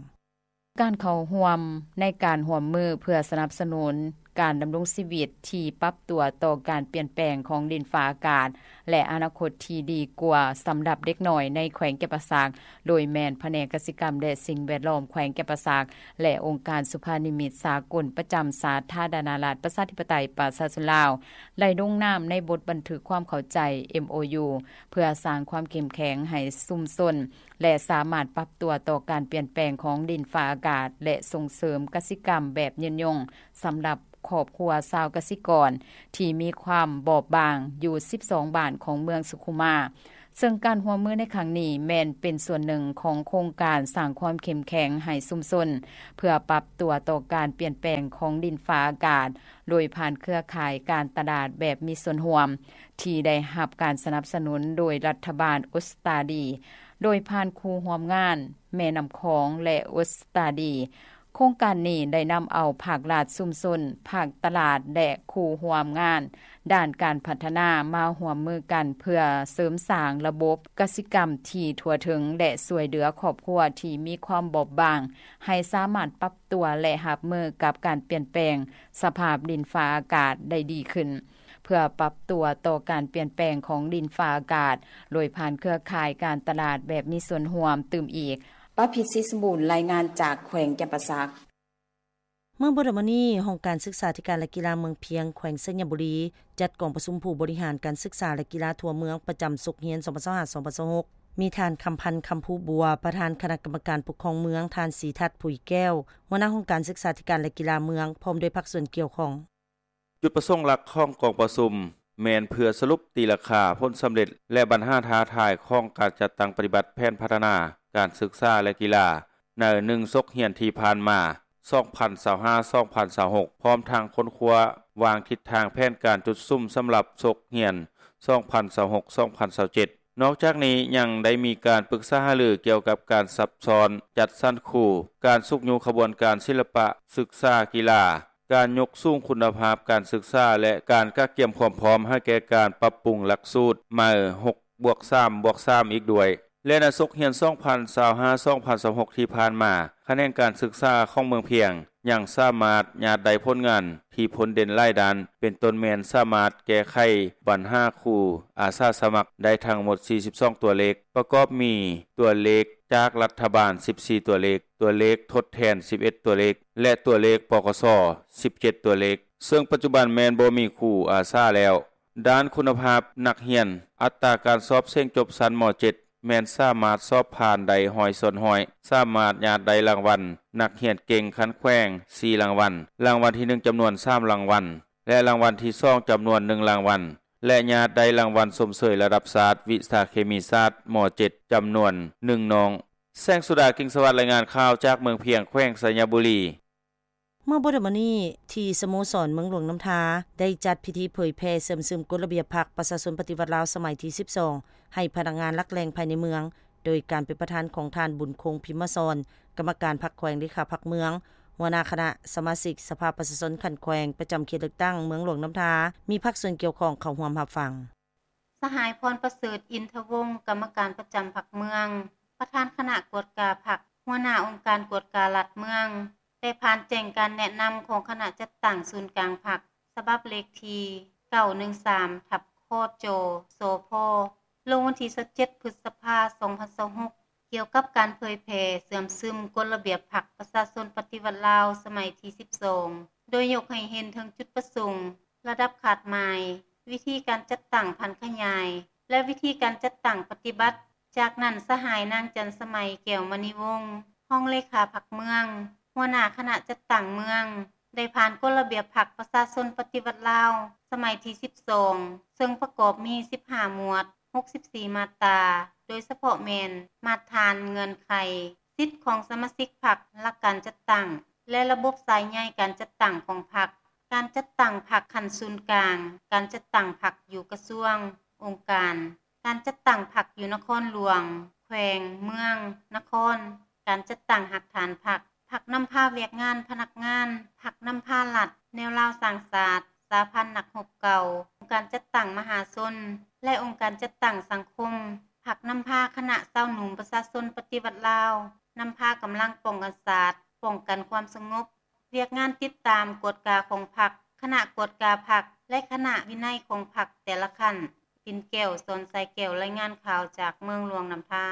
ການເຂົ້າຮ່ວມໃນການຮ່ວມມືເພື່ອສະໜັບສະໜູນການດຳລົງຊີວິດທີ່ປັບຕົວຕໍ່ການປ່ຽນແປງຂອງດິນຟ້າອາກາດ ແລະ ອະນາຄົດທີ່ດີກວ່າສຳລັບເດັກນ້ອຍໃນແຂວງຈຳປາສັກ, ໂດຍແມ່ນພະແນກກະສິກຳ ແລະ ສິ່ງແວດລ້ອມແຂວງຈຳປາສັກ ແລະ ອົງການສຸພານິມິດສາກົນປະຈຳສາທາລະນະລັດ ປະຊາທິປະໄຕ ປະຊາຊົນລາວ ໄດ້ລົງນາມໃນບົດບັນທຶກຄວາມເຂົ້າໃຈ ເອັມໂອຢູ ເພື່ອສ້າງຄວາມເຂັ້ມແຂງໃຫ້ຊຸມຊົນ ແລະ ສາມາດປັບຕົວຕໍ່ການປ່ຽນແປງຂອງດິນຟ້າອາກາດ ແລະ ສົ່ງເສີມກະສິກຳແບບຍືນຍົງສຳລັບຄອບຄົວຊາວກະສິກອນທີ່ມີຄວາມບອບບາງຢູ່ສິບສອງບ້ານຂອງເມືອງສຸຂຸມາ. ເຊິ່ງການຮ່ວມມືໃນຄັ້ງນີ້ແມ່ນເປັນສ່ວນໜຶ່ງຂອງໂຄງການສ້າງຄວາມເຂັ້ມແຂງໃຫ້ຊຸມຊົນ ເພື່ອປັບຕົວຕໍ່ການປ່ຽນແປງຂອງດິນຟ້າອາກາດ ໂດຍຜ່ານເຄືອຂ່າຍການຕະຫຼາດແບບມີສ່ວນຮ່ວມ ທີ່ໄດ້ຮັບການສະໜັບສະໜູນໂດຍລັດຖະບານອົດສະຕາລີ ໂດຍຜ່ານຄູ່ຮ່ວມງານ ແມ່ນ້ຳຂອງ ແລະ ອົດສະຕາລີ. ໂຄງການນີ້ໄດ້ນຳເອົາພາກລັດ, ຊຸມຊົນ, ພາກຕະຫຼາດ ແລະ ຄູ່ຮ່ວມງານດ້ານການພັດທະນາມາຮ່ວມມືກັນ ເພື່ອເສີມສ້າງລະບົບກະສິກຳທີ່ທົ່ວເຖິງ ແລະ ຊ່ວຍເຫຼືອຄອບຄົວທີ່ມີຄວາມບອບບາງ ໃຫ້ສາມາດປັບຕົວ ແລະ ຮັບມືກັບການປ່ຽນແປງສະພາບດິນຟ້າອາກາດໄດ້ດີຂຶ້ນ. ເພື່ອປັບຕົວຕໍ່ການປ່ຽນແປງຂອງດິນຟ້າອາກາດ ໂດຍຜ່ານເຄືອຂ່າຍການຕະຫຼາດແບບມີສ່ວນຮ່ວມຕື່ມອີກ. ປະພິດ ສີສະບູນ ລາຍງານຈາກແຂວງຈຳປາສັກ. ເມື່ອບໍ່ດົນມານີ້, ຫ້ອງການສຶກສາທິການ ແລະ ກິລາເມືອງພຽງ ແຂວງໄຊຍະບູລີ ຈັດກອງປະຊຸມຜູ້ບໍລິຫານການສຶກສາ ແລະ ກິລາທົ່ວເມືອງ ປະຈຳສົກຮຽນ ສອງພັນຊາວຫ້າ ສອງພັນຊາວຫົກ ມີທ່ານ ຄຳພັນ ຄຳພູບົວ ປະທານຄະນະກຳມະການປົກຄອງເມືອງ, ທ່ານ ສີທັດ ຜຸຍແກ້ວ ຫົວໜ້າຫ້ອງການສຶກສາທິການ ແລະ ກິລາເມືອງ ພ້ອມດ້ວຍພາກສ່ວນກ່ຽວຂ້ອງ. ຈຸດປະສົງຫຼັກຂອງກອງປະຊຸມ ແມ່ນເພື່ອສະຫຼຸບຕີລາຄາ, ຜົນສຳເລັດ ແລະ ບັນຫາທ້າທາຍຂອງການຈັດຕັ້ງປະຕິບັດແຜນພັດທະນາການສຶກສາ ແລະ ກິລາ ໃນໜຶ່ງສົກຮຽນທີ່ຜ່ານມາ ສອງພັນຊາວຫ້າ ສອງພັນຊາວຫົກ ພ້ອມທັງຄົ້ນຄວ້າວາງທິດທາງແຜນການຈຸດສຸມສຳລັບສົກຮຽນ ສອງພັນຊາວຫົກ ສອງພັນຊາວເຈັດ. ນອກຈາກນີ້ຍັງໄດ້ມີການປຶກສາຫາລືກ່ຽວກັບການຊັບຊ້ອນຈັດສັນຄູ, ການຊຸກຍູ້ຂະບວນການສິລະປະສຶກສາກິລາ, ການຍົກສູງຄຸນນະພາບການສຶກສາ ແລະ ການກະກຽມຄວາມພ້ອມໃຫ້ແກ່ການປັບປຸງຫຼັກສູດໃໝ່ ຫົກບວກສາມບວກສາມ ອີກດ້ວຍ. ແລະ ໃນສົກຮຽນ ສອງພັນຊາວຫ້າ ສອງພັນຊາວຫົກ ທີ່ຜ່ານມາ, ຂະແໜງການສຶກສາຂອງເມືອງພຽງ ຍັງສາມາດຍາດໄດ້ຜົນງານທີ່ພົ້ນເດັ່ນຫຼາຍດ້ານ, ເປັນຕົ້ນແມ່ນສາມາດແກ້ໄຂບັນຫາຄູອາສາສະໝັກໄດ້ທັງໝົດ ສີ່ສິບສອງ ຕົວເລກ, ປະກອບມີຕົວເລກຈາກລັດຖະບານ ສິບສີ່ ຕົວເລກ, ຕົວເລກທົດແທນ ສິບເອັດ ຕົວເລກ ແລະ ຕົວເລກ ປກສ ສິບເຈັດ ຕົວເລກ, ເຊິ່ງປັດຈຸບັນແມ່ນບໍ່ມີຄູອາສາແລ້ວ. ດ້ານຄຸນນະພາບນັກຮຽນ, ອັດຕາການສອບເສັງຈົບຊັ້ນ ມ.ເຈັດ ແມ່ນສາມາດສອບຜ່ານໄດ້ ຮ້ອຍສ່ວນຮ້ອຍ, ສາມາດຍາດໄດ້ລາງວັນນັກຮຽນເກັ່ງຂັ້ນແຂວງ ສີ່ ລາງວັນ, ລາງວັນທີ ໜຶ່ງ ຈຳນວນ ສາມ ລາງວັນ ແລະ ລາງວັນທີ ສອງ ຈຳນວນ ໜຶ່ງ ລາງວັນ ແລະ ຍາດໄດ້ລາງວັນຊົມເຊີຍລະດັບຊາດ ວິຊາເຄມີສາດ ມ.ເຈັດ ຈຳນວນ ໜຶ່ງ ນ້ອງ. ແສງສຸດາ ກິ່ງສະຫວັດ ລາຍງານຂ່າວຈາກເມືອງພຽງ ແຂວງໄຊຍະບູລີ. ເມື່ອບໍ່ດົນມານີ້ ທີ່ສະໂມສອນເມືອງຫຼວງນ້ຳທາ ໄດ້ຈັດພິທີເຜີຍແຜ່ເຊື່ອມຊຶມກົດລະບຽບພັກປະຊາຊົນປະຕິວັດລາວສະໄໝທີ ສິບສອງ ໃຫ້ພະນັກງານຫຼັກແຫຼ່ງພາຍໃນເມືອງ ໂດຍການເປັນປະທານຂອງທ່ານ ບຸນຄົງ ພິມມະສອນ ກຳມະການພັກແຂວງ ເລຂາພັກເມືອງ, ຫົວໜ້າຄະນະສະມາຊິກສະພາປະຊາຊົນຂັ້ນແຂວງ ປະຈຳເຂດເລືອກຕັ້ງເມືອງຫຼວງນ້ຳທາ ມີພາກສ່ວນກ່ຽວຂ້ອງເຂົ້າຮ່ວມຮັບຟັງ. ສະຫາຍ ພອນປະເສີດ ອິນທະວົງ ກຳມະການປະຈຳພັກເມືອງ, ປະທານຄະນະກວດກາພັກ, ຫົວໜ້າອົງການກວດກາລັດເມືອງ ໄດ້ຜ່ານແຈ້ງການແນະນຳຂອງຄະນະຈັດຕັ້ງສູນກາງພັກ ສະບັບເລກທີ ເກົ້າໜຶ່ງສາມ ທັບ ຄຈ ສພ ລົງວັນທີ ຊາວເຈັດ ພຶດສະພາ ສອງພັນຊາວຫົກ ກ່ຽວກັບການເຜີຍແຜ່ເຊື່ອມຊຶມກົດລະບຽບພັກປະຊາຊົນປະຕິວັດລາວສະໄໝທີ ສິບສອງ ໂດຍຍົກໃຫ້ເຫັນເຖິງຈຸດປະສົງ, ລະດັບຄາດໝາຍ, ວິທີການຈັດຕັ້ງຜັນຂະຫຍາຍ ແລະ ວິທີການຈັດຕັ້ງປະຕິບັດ. ຈາກນັ້ນ ສະຫາຍ ນາງ ຈັນສະໄໝ ແກ້ວມະນີວົງ ຮອງເລຂາພັກເມືອງ, ຫົວໜ້າຄະນະຈັດຕັ້ງເມືອງ ໄດ້ຜ່ານກົດລະບຽບພັກປະຊາຊົນປະຕິວັດລາວສະໄໝທີ ສິບສອງ ເຊິ່ງປະກອບມີ ສິບຫ້າ ໝວດ, ຫົກສິບສີ່ ມາດຕາ, ໂດຍສະເພາະແມ່ນ ມາດຖານ, ເງື່ອນໄຂ, ສິດຂອງສະມາຊິກພັກ, ຫຼັກການຈັດຕັ້ງ ແລະ ລະບົບສາຍໃຍການຈັດຕັ້ງຂອງພັກ, ການຈັດຕັ້ງພັກຂັ້ນສູນກາງ, ການຈັດຕັ້ງພັກຢູ່ກະຊວງ, ອົງການ, ການຈັດຕັ້ງພັກຢູ່ນະຄອນຫຼວງ, ແຂວງ, ເມືອງ, ນະຄອນ, ການຈັດຕັ້ງຮາກຖານພັກ, ພັກນຳພາວຽກງານພະນັກງານ, ພັກນຳພາລັດ, ແນວລາວສ້າງຊາດ, ສະຫະພັນນັກຮົບເກົ່າ, ອົງການຈັດຕັ້ງມະຫາຊົນ ແລະ ອົງການຈັດຕັ້ງສັງຄົມ, ພັກນຳພາຄະນະຊາວໜຸ່ມປະຊາຊົນປະຕິວັດລາວ, ນຳພາກຳລັງປ້ອງກັນຊາດ, ປ້ອງກັນຄວາມສະຫງົບ, ວຽກງານຕິດຕາມກວດກາຂອງພັກ, ຄະນະກວດກາພັກ ແລະ ຄະນະວິໄນຂອງພັກແຕ່ລະຂັ້ນ. ປິນແກ້ວ ສອນໄຊແກ້ວ ລາຍງານຂ່າວຈາກເມືອງຫຼວງນ້ຳທາ.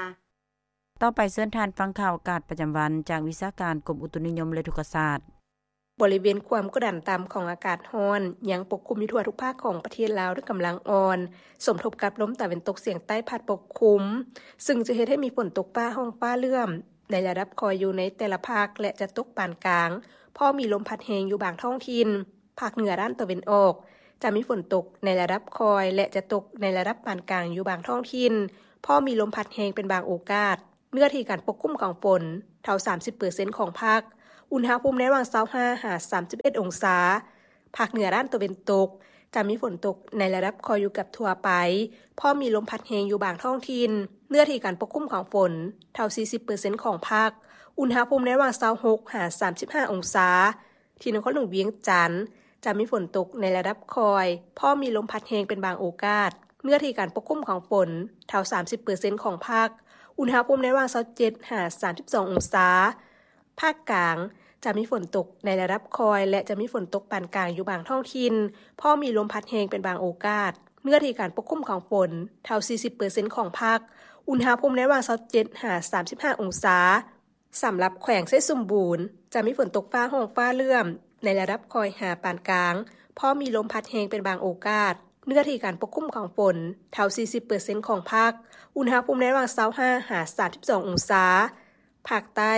ຕໍ່ໄປເຊີນທ່ານຟັງຂ່າວອາກາດປະຈຳວັນຈາກວິຊາການກົມອຸຕຸນິຍົມ ແລະ ອຸທົກກະສາດ. ບໍລິເວນຄວາມກົດດັນຕ່ຳຂອງອາກາດຮ້ອນຍັງປົກຄຸມຢູ່ທົ່ວທຸກພາກຂອງປະເທດລາວດ້ວຍກຳລັງອ່ອນ, ສົມທົບກັບລົມຕາເວັນຕົກສຽງໃຕ້ພັດປົກຄຸມ, ຊຶ່ງຈະເຮັດໃຫ້ມີຝົນຕົກຟ້າຮ້ອງຟ້າເຫຼື້ອມໃນລະດັບຄ່ອຍຢູ່ໃນແຕ່ລະພາກ ແລະ ຈະຕົກປານກາງ, ພໍມີລົມພັດແຮງຢູ່ບາງທ້ອງຖິ່ນ. ພາກເໜືອດ້ານຕາເວັນອອກ ຈະມີຝົນຕົກໃນລະດັບຄ່ອຍ ແລະ ຈະຕົກໃນລະດັບປານກາງຢູ່ບາງທ້ອງຖິ່ນ, ພໍມີລົມພັດແຮງເປັນບາງໂອກາດ. ເນື້ອທີ່ການປົກຄຸມຂອງຝົນ ເທົ່າ ສາມສິບເປີເຊັນຂອງພາກ, ອຸນຫະພູມໃນລະຫວ່າງ ຊາວຫ້າ ຫາ ສາມສິບເອັດ ອົງສາ. ພາກເໜືອດ້ານຕາເວັນຕົກ ຈະມີຝົນຕົກໃນລະດັບຄ່ອຍຢູ່ເກືອບທົ່ວໄປ, ພໍມີລົມພັດແຮງຢູ່ບາງທ້ອງຖິ່ນ. ເນື້ອທີ່ການປົກຄຸມຂອງຝົນ ເທົ່າ ສີ່ສິບເປີເຊັນຂອງພາກ, ອຸນຫະພູມໃນລະຫວ່າງ ຊາວຫົກ ຫາ ສາມສິບຫ້າ ອົງສາ. ທີ່ນະຄອນຫຼວງວຽງຈັນ ຈະມີຝົນຕົກໃນລະດັບຄ່ອຍ, ພໍມີລົມພັດແຮງເປັນບາງໂອກາດ. ເນື້ອທີ່ການປົກຄຸມຂອງຝົນ ເທົ່າ ສາມສິບເປີເຊັນຂອງພາກ, ອຸນຫະພູມໃນລະຫວ່າງ ຊາວເຈັດ ຫາ ສາມສິບສອງ ອົງສາ. ພາກກາງ ຈະມີຝົນຕົກໃນລະດັບຄ່ອຍ ແລະ ຈະມີຝົນຕົກປານກາງຢູ່ບາງທ້ອງຖິ່ນ, ພໍມີລົມພັດແຮງເປັນບາງໂອກາດ. ເນື້ອທີ່ການປົກຄຸມຂອງຝົນ ເທົ່າ ສີ່ສິບເປີເຊັນຂອງພາກ, ອຸນຫະພູມໃນລະຫວ່າງ ຊາວເຈັດ ຫາ ສາມສິບຫ້າ ອົງສາ. ສຳລັບແຂວງໄຊສົມບູນ ຈະມີຝົນຕົກຟ້າຮ້ອງຟ້າເຫຼື້ອມໃນລະດັບຄ່ອຍຫາປານກາງ, ພໍມີລົມພັດແຮງເປັນບາງໂອກາດ. ເນື້ອທີ່ການປົກຄຸມຂອງຝົນ ເທົ່າສີ່ສິບເປີເຊັນຂອງພາກ, ອຸນຫະພູມໃນລະຫວ່າງຊາວຫ້າຫາສາມສິບສອງອົງສາ. ພາກໃຕ້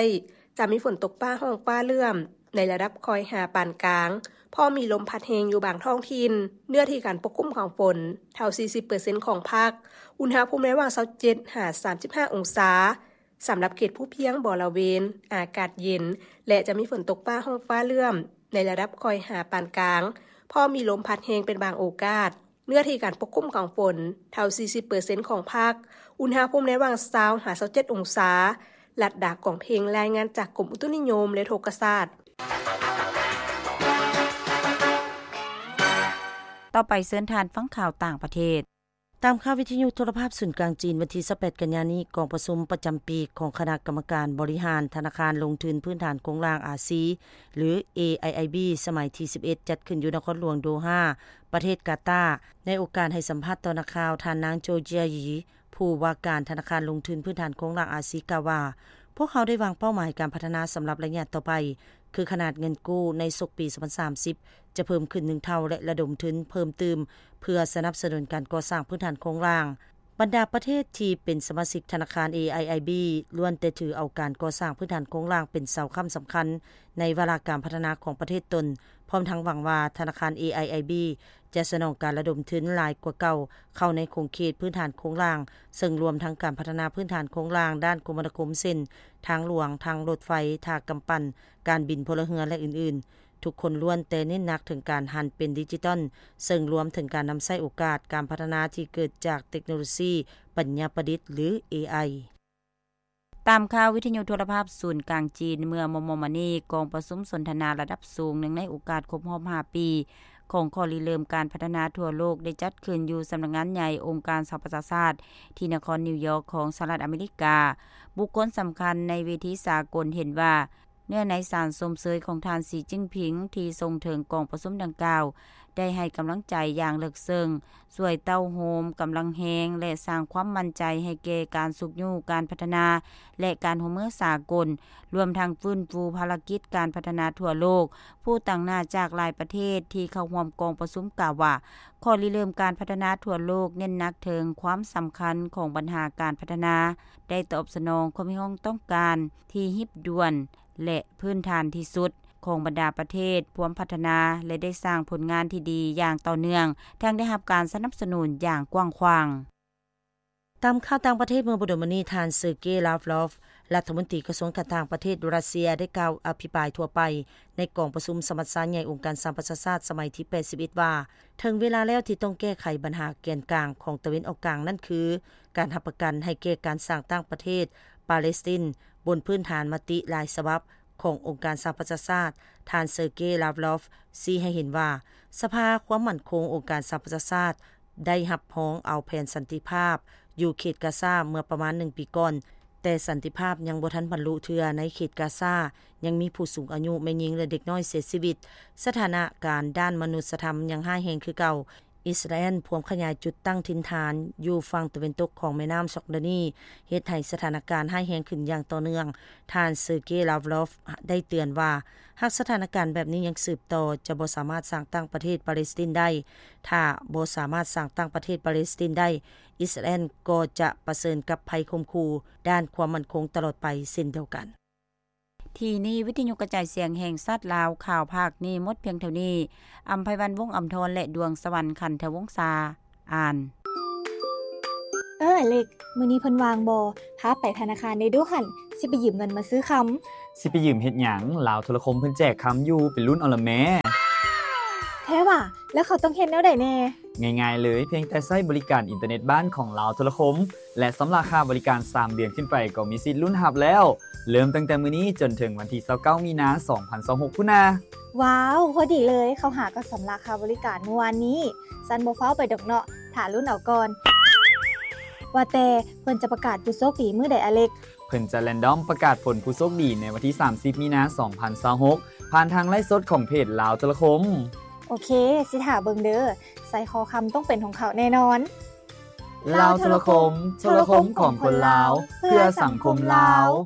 ຈະມີຝົນຕົກຟ້າຮ້ອງຟ້າເຫຼື້ອມ ໃນລະດັບຄ່ອຍຫາປານກາງ, ພໍມີລົມພັດແຮງຢູ່ບາງທ້ອງຖິ່ນ. ເນື້ອທີ່ການປົກຄຸມຂອງຝົນ ເທົ່າສີ່ສິບເປີເຊັນຂອງພາກ, ອຸນຫະພູມໃນລະຫວ່າງຊາວເຈັດຫາສາມສິບຫ້າອົງສາ. ສຳລັບເຂດພູພຽງບໍລະເວນ ອາກາດເຢັນ ແລະ ຈະມີຝົນຕົກຟ້າຮ້ອງຟ້າເຫຼື້ອມ ໃນລະດັບຄ່ອຍຫາປານກາງ, ພໍມີລົມພັດແຮງເປັນບາງໂອກາດ. ເນື້ອທີ່ການປົກຄຸມຂອງຝົນ ເທົ່າສີ່ສິບເປີເຊັນຂອງພາກ, ອຸນຫະພູມໃນລະຫວ່າງຊາວຫາຊາວເຈັດອົງສາ. ລັດດາ ກອງເພັງ ລາຍງານຈາກກົມອຸຕຸນິຍົມ ແລະ ອຸທົກກະສາດ. ຕໍ່ໄປເຊີນທ່ານຟັງຂ່າວຕ່າງປະເທດ. ຕາມຂ່າວວິທະຍຸໂທລະພາບສູນກາງຈີນ ວັນທີຊາວແປດກັນຍານີ້, ກອງປະຊຸມປະຈຳປີຂອງຄະນະກຳມະການບໍລິຫານທະນາຄານລົງທຶນພື້ນຖານໂຄງລ່າງອາຊີ ຫຼື ເອໄອໄອບີ ສະໄໝທີສິບເອັດ ຈັດຂຶ້ນຢູ່ນະຄອນຫຼວງໂດຮາ ປະເທດກາຕາ. ໃນໂອກາດໃຫ້ສຳພາດຕໍ່ນັກຂ່າວ, ທ່ານນາງ ໂຈເຈຍ ຢີ ຜູ້ວ່າການທະນາຄານລົງທຶນພື້ນຖານໂຄງລ່າງອາຊີ ກ່າວວ່າ, ພວກເຮົາໄດ້ວາງເປົ້າໝາຍການພັດທະນາສຳລັບໄລຍະຕໍ່ໄປ ຄືຂະໜາດເງິນກູ້ໃນສົກປີສອງພັນສາມສິບ ຈະເພີ່ມຂຶ້ນໜຶ່ງເທົ່າ ແລະ ລະດົມທຶນເພີ່ມຕື່ມ ເພື່ອສະໜັບສະໜູນການກໍ່ສ້າງພື້ນຖານໂຄງລ່າງ. ບັນດາປະເທດທີ່ເປັນສະມາຊິກທະນາຄານ ເອໄອໄອບີ ລ້ວນແຕ່ຖືເອົາການກໍ່ສ້າງພື້ນຖານໂຄງລ່າງເປັນເສົາຄ້ຳສຳຄັນໃນວາລະການພັດທະນາຂອງປະເທດຕົນ, ພ້ອມທັງຫວັງວ່າທະນາຄານ ເອໄອໄອບີ ຈະສະໜອງການລະດົມທຶນຫຼາຍກວ່າເກົ່າເຂົ້າໃນຂົງເຂດພື້ນຖານໂຄງລ່າງ, ເຊິ່ງລວມທັງການພັດທະນາພື້ນຖານໂຄງລ່າງດ້ານຄົມມະນາຄົມ ເຊັ່ນ ທາງຫຼວງ, ທາງລົດໄຟ, ທ່າກຳປັ່ນ, ການບິນພົນລະເຮືອ ແລະ ອື່ນໆ. ທຸກຄົນລ້ວນແຕ່ເນັ້ນໜັກເຖິງການຫັນເປັນດິຈິຕອນ, ເຊິ່ງລວມເຖິງການນຳໃຊ້ໂອກາດການພັດທະນາທີ່ເກີດຈາກເຕັກໂນໂລຊີປັນຍາປະດິດ ຫຼື ເອໄອ. ຕາມຂ່າວວິທະຍຸໂທລະພາບສູນກາງຈີນ, ເມື່ອມໍ່ໆມານີ້, ກອງປະຊຸມສົນທະນາລະດັບສູງ ເນື່ອງໃນໂອກາດຄົບຮອບຫ້າປີຂອງຂໍ້ລິເລີ່ມການພັດທະນາທົ່ວໂລກ ໄດ້ຈັດຂຶ້ນຢູ່ສຳນັກງານໃຫຍ່ອົງການສະຫະປະຊາຊາດ ທີ່ນະຄອນນິວຢອກຂອງສະຫະລັດອາເມລິກາ. ບຸກຄົນສຳຄັນໃນເວທີສາກົນເຫັນວ່າ ເນື້ອໃນສານຊົມເຊີຍຂອງທ່ານ ສີຈິ້ນຜິງ ທີ່ສົ່ງເຖິງກອງປະຊຸມດັ່ງກ່າວ ໄດ້ໃຫ້ກຳລັງໃຈຢ່າງເລິກເຊິ່ງ, ຊ່ວຍເຕົ້າໂຮມກຳລັງແຮງ ແລະ ສ້າງຄວາມໝັ້ນໃຈໃຫ້ແກ່ການຊຸກຍູ້ການພັດທະນາ ແລະ ການຮ່ວມມືສາກົນ, ລວມທັງຟື້ນຟູພາລະກິດການພັດທະນາທົ່ວໂລກ. ຜູ້ຕາງໜ້າຈາກຫຼາຍປະເທດທີ່ເຂົ້າຮ່ວມກອງປະຊຸມກ່າວວ່າ, ຂໍ້ລິເລີ່ມການພັດທະນາທົ່ວໂລກເນັ້ນໜັກເຖິງຄວາມສຳຄັນຂອງບັນຫາການພັດທະນາ ໄດ້ຕອບສະໜອງຄວາມຮຽກຮ້ອງຕ້ອງການທີ່ຮີບດ່ວນ ແລະ ພື້ນຖານທີ່ສຸດຂອງບັນດາປະເທດພວມພັດທະນາ ແລະ ໄດ້ສ້າງຜົນງານທີ່ດີຢ່າງຕໍ່ເນື່ອງ, ທັງໄດ້ຮັບການສະໜັບສະໜູນຢ່າງກວ້າງຂວາງ. ຕາມຂ່າວຕ່າງປະເທດ, ເມື່ອບໍ່ດົນມານີ້, ທ່ານ ເຊີເກ ລາວໂຣຟ ລັດຖະມົນຕີກະຊວງການຕ່າງປະເທດຣັດເຊຍ ໄດ້ກ່າວອະພິປາຍທົ່ວໄປໃນກອງປະຊຸມສະມັດຊາໃຫຍ່ອົງການສະຫະປະຊາຊາດສະໄໝທີແປດສິບເອັດວ່າ, ເຖິງເວລາແລ້ວທີ່ຕ້ອງແກ້ໄຂບັນຫາແກນກາງຂອງຕາເວັນອອກກາງ, ນັ້ນຄື ການຮັບປະກັນໃຫ້ແກ່ການສ້າງຕັ້ງປະເທດປາເລສຕິນ ບົນພື້ນຖານມະຕິຫຼາຍສະບັບຂອງອົງການສະຫະປະຊາຊາດ. ທ່ານ ເຊີເກ ລາວໂຣຟ ຊີ້ໃຫ້ເຫັນວ່າ ສະພາຄວາມໝັ້ນຄົງອົງການສະຫະປະຊາຊາດໄດ້ຮັບຮອງເອົາແຜນສັນຕິພາບຢູ່ເຂດກາຊາເມື່ອປະມານໜຶ່ງປີກ່ອນ, ແຕ່ສັນຕິພາບຍັງບໍ່ທັນບັນລຸເທື່ອ. ໃນເຂດກາຊາຍັງມີຜູ້ສູງອາຍຸ, ແມ່ຍິງ ແລະ ເດັກນ້ອຍເສຍຊີວິດ. ສະຖານະການດ້ານມະນຸດສະທຳຍັງຮ້າຍແຮງຄືເກົ່າ. ອິດສະຣາແອນພວມຂະຫຍາຍຈຸດຕັ້ງຖິ່ນຖານຢູ່ຝັ່ງຕາເວັນຕົກຂອງແມ່ນ້ຳຊອກດານີ, ເຮັດໃຫ້ສະຖານະການຮ້າຍແຮງຂຶ້ນຢ່າງຕໍ່ເນື່ອງ. ທ່ານ ເຊີເກ ລາວໂຣຟ ໄດ້ເຕືອນວ່າ, ຫາກສະຖານະການແບບນີ້ຍັງສືບຕໍ່, ຈະບໍ່ສາມາດສ້າງຕັ້ງປະເທດປາເລສຕິນໄດ້. ຖ້າບໍ່ສາມາດສ້າງຕັ້ງປະເທດປາເລສຕິນໄດ້, ອິດສະຣາແອນກໍຈະປະເຊີນກັບໄພຂົ່ມຂູ່ດ້ານຄວາມໝັ້ນຄົງຕະຫຼອດໄປເຊັ່ນດຽວກັນ. ທີ່ນີ້ ວິທະຍຸກະຈາຍສຽງແຫ່ງຊາດລາວ, ຂ່າວພາກນີ້ໝົດພຽງເທົ່ານີ້. ອຳໄພວັນ ວົງອຳທອນ ແລະ ດວງສະຫວັນ ຂັນທະວົງສາ ອ່ານ. ເອີ ອາເລັກ, ມື້ນີ້ເພິ່ນວ່າງບໍ່? ພາໄປທະນາຄານແດ່ດູຫັ້ນ, ຊິໄປຢືມເງິນມາຊື້ຄຳ. ຊິໄປຢືມເຮັດຫຍັງ? ລາວໂທລະຄົມເພິ່ນແຈກຄຳຢູ່, ໄປລຸ້ນເອົາລະແມ້. ແທ້ຫວາ? ແລ້ວເຂົາຕ້ອງເຮັດແນວໃດແດ່? ງ່າຍໆເລີຍ, ພຽງແຕ່ໃຊ້ບໍລິການອິນເຕີເນັດບ້ານຂອງລາວໂທລະຄົມ ແລະ ຊຳລະຄ່າບໍລິການສາມເດືອນຂຶ້ນໄປກໍມີສິດລຸ້ນຮັບແລ້ວ. ເລີ່ມຕັ້ງແຕ່ມື້ນີ້ຈົນເຖິງວັນທີຊາວເກົ້າ ມີນາ ສອງພັນຊາວຫົກ ພຸ້ນນາ. ວ້າວ, ພໍດີເລີຍ, ເຂົາຫາກໍຊຳລະຄ່າບໍລິການມື້ວານນີ້. ຊັ້ນບໍ່ຟ້າວໄປດອກເນາະ, ຖ້າລຸ້ນເອົາກ່ອນ. ວ່າແຕ່ເພິ່ນຈະປະກາດຜູ້ໂຊກດີມື້ໃດ, ອາເລັກ? ເພິ່ນຈະແຣນດອມປະກາດຜົນຜູ້ໂຊກດີໃນວັນທີສາມສິບ ມີນາ ສອງພັນຊາວຫົກ ຜ່ານທາງໄລຟ໌ສົດຂອງເພຈລາວໂທລະຄົມ. ໂອເຄ, ຊິຖ້າເບິ່ງເດີ. ໄຊຄໍຄຳຕ້ອງເປັນຂອງເຂົາແນ່ນອນ. ລາວໂທລະຄົມ, ໂທລະຄົມຂອງຄົນລາວ, ເພື່ອສັງຄົມລາວ.